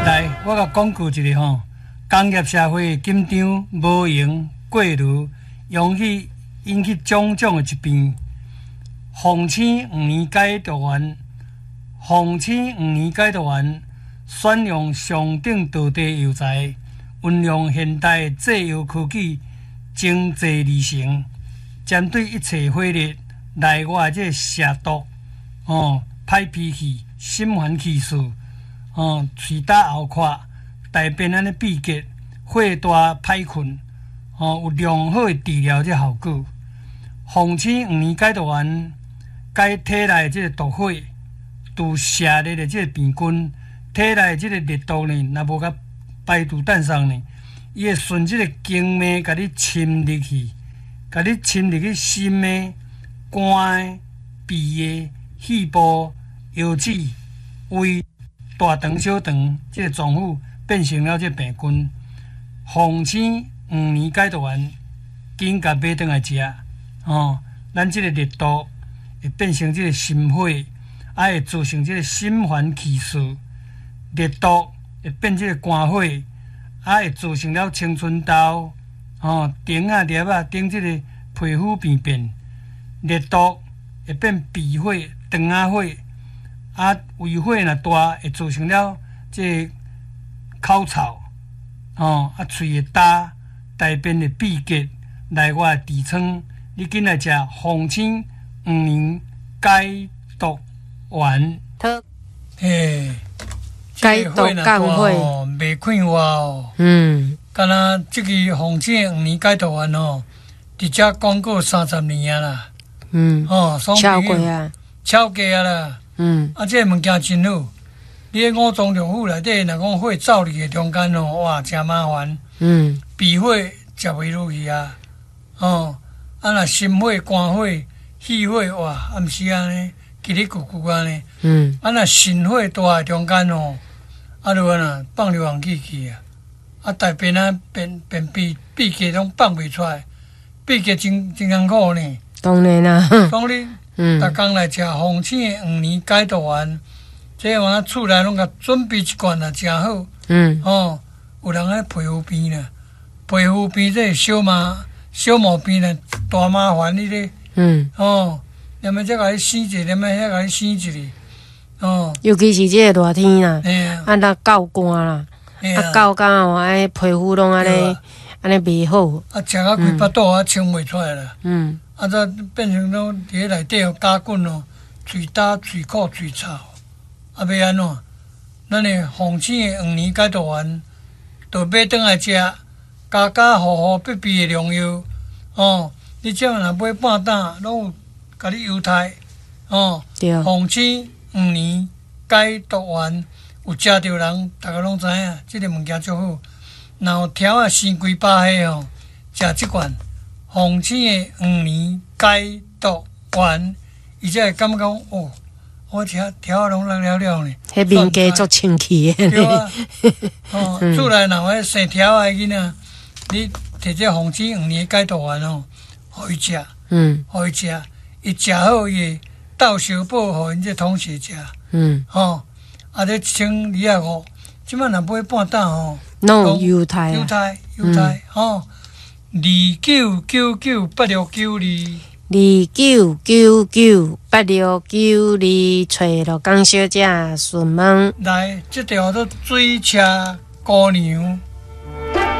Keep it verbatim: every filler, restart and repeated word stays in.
來，我共廣告一下吼，工業社會緊張、無閒、過勞，容易引起種種的疾病。鳳青黃連解毒丸，鳳青黃連解毒丸，選用上等道地藥材，運用現代製藥科技精製而成，針對一切火熱、內外這個邪毒，哦，歹脾氣、心煩氣躁，哦，喙焦喉渴、大便按呢秘結、火大歹睏，哦，有良好的治療這效果。鳳青黃連解毒丸，解體內這個毒火，除邪熱的這個病菌，體內這個熱毒呢，若無共排除散送呢，伊會順這個經脈共你侵入去，共你侵入去心的、肝的、脾的、肺部、腰子、胃、大腸、小腸這個臟腑，變成了這個病菌。鳳青黃連解毒丸，緊共買轉來食，哦，咱這個熱毒會變成這個心火，啊會造成這個心煩氣躁，熱毒會變這個肝火，啊會造成了青春痘，哦，腸仔粒仔頂這個皮膚病變，熱毒會變脾火、腸仔火，啊胃火若大會造成了這個口臭，哦，啊喙會焦，大便會秘結，內外痔瘡，你緊來食鳳青黃連解毒丸。嘿，解毒降火哦，袂快活哦。嗯，敢若這支鳳青黃連解毒丸哦，佇遮廣告三十年啊啦。嗯，哦，超過啊，超過啊啦。嗯，啊，這個物件真好。你佇五臟六腑內底，若講火走入去中間哦，哇，誠麻煩。嗯，脾火食袂落去啊。哦，啊若心火、肝火、肺火，哇，暗時按呢，嘰哩咕咕按呢。嗯，啊若腎火大的中間哦，啊就按怎放尿放氣去啊，啊大便啊便便秘秘結攏放袂出來，秘結真真艱苦呢。當然啦。講你，嗯，逐工來食鳳青的黃連解毒丸，這個我厝內攏共準備一罐啊，誠好。嗯。哦，有人咧皮膚病啦，皮膚病這個小麻小毛病啦，大麻煩你咧。嗯。哦，連物這共你生一個，連物遐共你生一個，哦。尤其是這個熱天啦，啊，若夠寒啦，啊夠寒哦，按呢皮膚攏按呢按呢袂好。啊，食甲規腹肚啊，清袂出來啦。嗯。啊，這變成講佇咧內底哦，加菌哦，喙焦、喙苦、喙臭，啊，欲按怎？咱的鳳青的黃連解毒丸，就買轉來食，家家戶戶必備的良藥。哦，你這若買半擔，攏有共你優待。哦，鳳青黃連解毒丸，有食著人，逐个攏知影，這个物件足好。若有柱仔生規百歲哦，食這罐鳳青的黃連解毒丸，伊才會感覺講哦，我食柱仔攏落了了呢。彼面家足清氣的。對啊，哦，厝內若有生柱仔的囡仔，你摕這鳳青黃連解毒丸哦，予伊食，嗯，予伊食，伊食好伊會鬥相報予𪜶這同學食，嗯，吼，啊，這一千二百五，這擺若買半擔吼，攏有優待，優待，優待，吼，二九九九八六九二，二九九九八六九二，揣羅江小姐詢問。來，這條叫做水車姑娘。